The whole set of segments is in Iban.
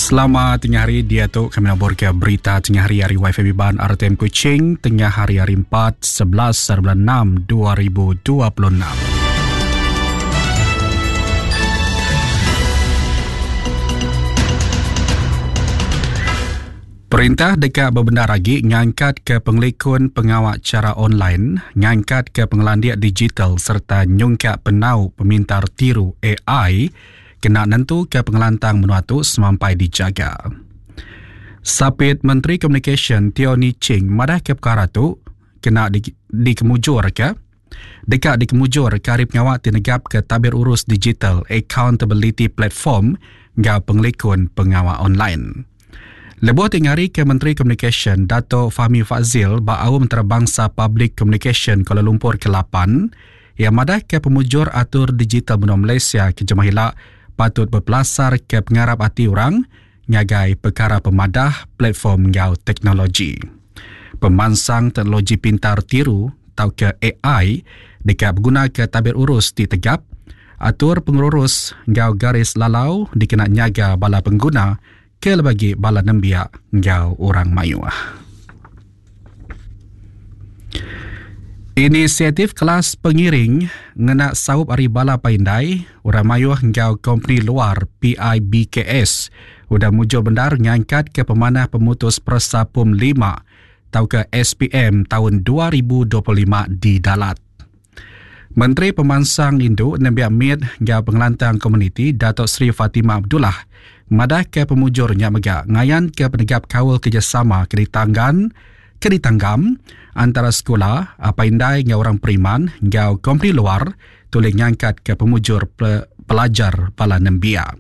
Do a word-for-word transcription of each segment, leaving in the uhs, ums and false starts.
Selamat tengah hari dia tu kami nabur ke berita tengah hari hari Wi-Fi Biban R T M Kuching tengah hari hari empat sebelas bulan enam dua ribu dua puluh enam. Perintah dekat berbenar lagi ngangkat ke pengelikun pengawal cara online, ngangkat ke pengelandian digital serta nyungkak penau pemintar tiru A I kena nentu ke pengelantang menua tu semampai dijaga. Sapit Menteri Komunikasi Teo Nie Ching madah ke perkara tu kena di, dikemujur ke dekat dikemujur ke hari pengawal tinegap ke tabir urus digital accountability platform ngau pengelikun pengawal online. Lebuh tingari ke Menteri Komunikasi Dato' Fahmi Fadzil ba Aum Antarabangsa Public Communication Kuala Lumpur ke lapan yang madah ke pemujur atur digital menua Malaysia ke jemah hilak patut berpelasar ke pengarap hati orang ngagai perkara pemadah platform ngau teknologi. Pemansang teknologi pintar tiru atau ke A I dekat berguna ke tabir urus ti tegap atur pengurus ngau garis lalau dikena nyaga bala pengguna ke lebagi bala nembiak ngau orang mayuh. Inisiatif kelas pengiring ngena saup ari bala paindai orang mayuh ngau company luar P I B K S udah mujur bendar ngangkat ke pemanah pemutus peresa P U M lima atau ke S P M tahun dua ribu dua puluh lima di Dalat. Menteri Pemansang Induk Nembiak M I D ngau Pengelantang Komuniti Datuk Seri Fatimah Abdullah madah ke pemujurnya mega ngayan ke penegap kaul kerjasama ke ditanggan ke ditanggam antara sekolah apa indai ngau orang periman ngau kompeni luar tulis ngangkat ke pemujur pe- pelajar bala nembiak.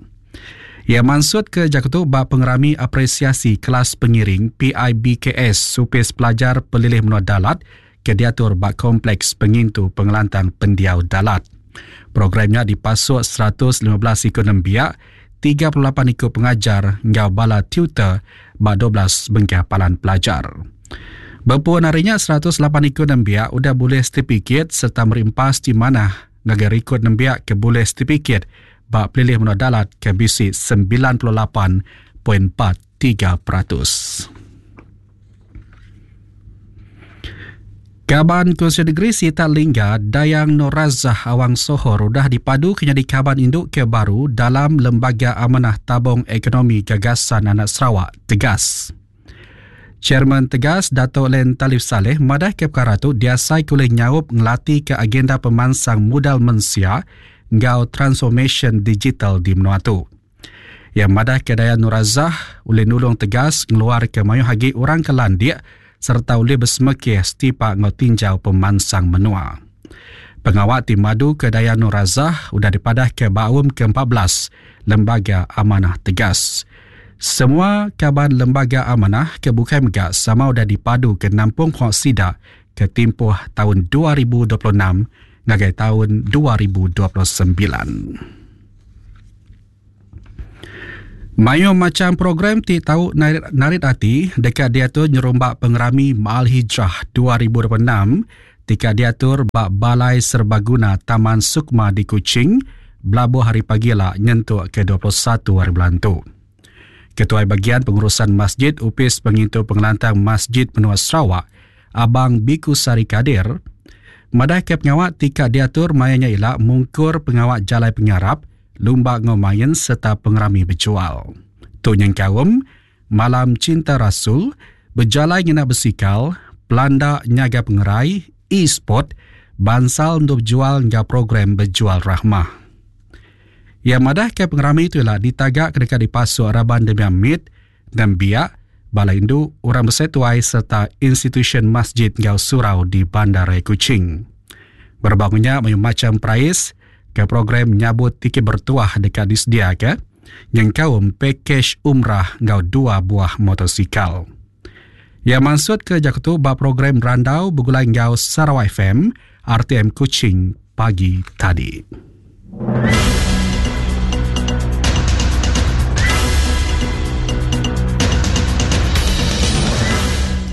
Ia maksud ke Jakarta bab pengerami apresiasi kelas pengiring P I B K S Supis Pelajar Pelilih Menua Dalat ke diatur bak Kompleks Pengintu Pengelantang Pendiau Dalat. Programnya dipasuk seratus lima belas ikut nembiak, tiga puluh lapan ikut pengajar ngau bala tutor bak dua belas bengkah palan pelajar. Berpuan harinya seratus lapan ikut nembiak udah boleh sertifikat serta merimpas di mana ngagai rekod nembiak ke boleh sertifikat bak Pelilih Menua Dalat ke B C sembilan puluh lapan perpuluhan empat tiga peratus. Kaban Kursi Negeri Sita Lingga Dayang Norazah Awang Sohor udah dipadu kena di Kaban Induk ke baru dalam Lembaga Amanah Tabung Ekonomi Gagasan Anak Sarawak Tegas. Chairman Tegas Dato' Len Talif Saleh madah ke perkara tu diasai kulih nyaup ngelati ke agenda pemansang modal mensia ngau transformation digital di menua tu. Yang madah ke Dayang Norazah oleh nulung Tegas ngeluar ke mayuh hagi orang ke landik serta oleh bersemekih setipak ngau tinjau pemansang menua. Pengawal tim madu ke Dayang Norazah udah dipadah ke Baum ke empat belas Lembaga Amanah Tegas. Semua kaban Lembaga Amanah ke bukai megak sama udah dipadu ke nampung hok sida ke tempoh tahun dua ribu dua puluh enam ngagai tahun dua ribu dua puluh sembilan. Mayu macam program ti tau narit, narit hati dekat diatur nyerombak pengerami Maal Hijrah dua ribu dua puluh enam tika diatur bak Balai Serbaguna Taman Sukma di Kuching belabuh hari pagi lah nyentuk ke dua puluh satu hari bulan tu. Ketua Bagian Pengurusan Masjid Upis Pengintu Pengelantang Masjid Menua Sarawak Abang Biku Sari Kadir madah ke pengawak tika diatur mayanya ilak mungkur pengawak jalai pengarap lumba ngomain serta pengerami berjual. Tu yang kaum, Malam Cinta Rasul, berjalai ngena bersikal, pelanda nyaga pengerai, e-sport, bansal untuk jual ngga program berjual rahmah. Yang madah ke pengerami itu ialah ditagak ketika dipasuk raban demi amit dan biak, balai indu, orang bersetuai serta institusi masjid ngau surau di Bandar Kuching. Berbangunnya macam perais ke program nyabut tiket bertuah dekat disediakan yang kaum pakej umrah ngau dua buah motosikal. Yang maksud ke Jakarta bab program randau bergulai ngau Sarawak F M R T M Kuching pagi tadi.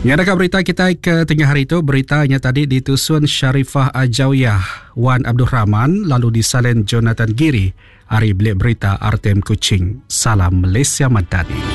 Yang ada berita kita ke tengah hari itu, beritanya tadi ditusun Sharifah Ajawiyah Wan Abdul Rahman lalu disalin Jonathan Giri Ari Bilik Berita R T M Kuching. Salam Malaysia Madani.